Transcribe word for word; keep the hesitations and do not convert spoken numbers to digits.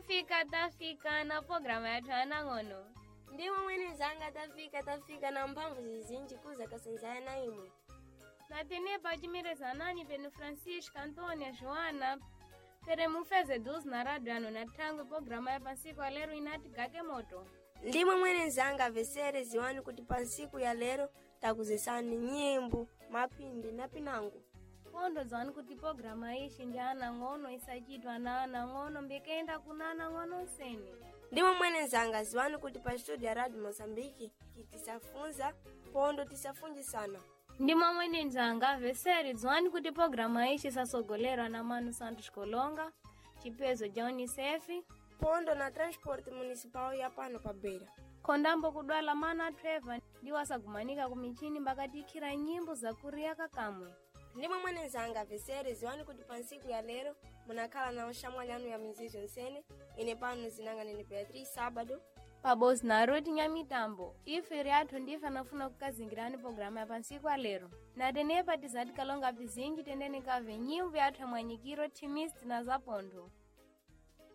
Tafika, tafika na programa yathu anang'ono. Ndimwe mwene zanga tafika tafika na mphamvu zizinji kuza kasenzaya na imwe. Na tenepa cimirezanani penu Francisca, Antônia, Joana, pere mufeze duzi na rádio ano na thangwe programa ya pansiku ya lero inati gake moto. Ndimwe mwene zanga vesere ziwani kuti pa nsiku ya lero takuzesani nyimbo, mapindi na pinango. Pondo dzwani kuti programa ixi ndi anang'ono isachitwa na anang'ono mbikenda kuna anang'ono nsene. Ndimwe mwene zanga ziwani kuti pa studio ya Radio Mozambique tisafunza pondo tisafunjisana. Ndimwe mwene nzanga veseri dzwani kuti programa ixi isasogolerwa na Manu Santos Kolonga, chipezo ja Unicef, Pondo na transporte municipal ya pano pa Beira. khondambo kudwala mana Trevor ndiwo asagumanika kumichini mbakatikhira nyimbo zakuriya kakamwe. Ndimwe mwene zanga vesere ziwani kuti pa nsiku ya lero munakhala na oxamwali anu ya mizizo nsene ine pano zinanga nene Beatriz Sábado. Pabozi na Ruth Nyamitambo, ife ryathu ndife anafuna kukazingirani programa ya pansiku alero. Na tenepa tizati kalonga pizinji tendene kave nyimbo yathu ya mwanyikiro timist na zapontho.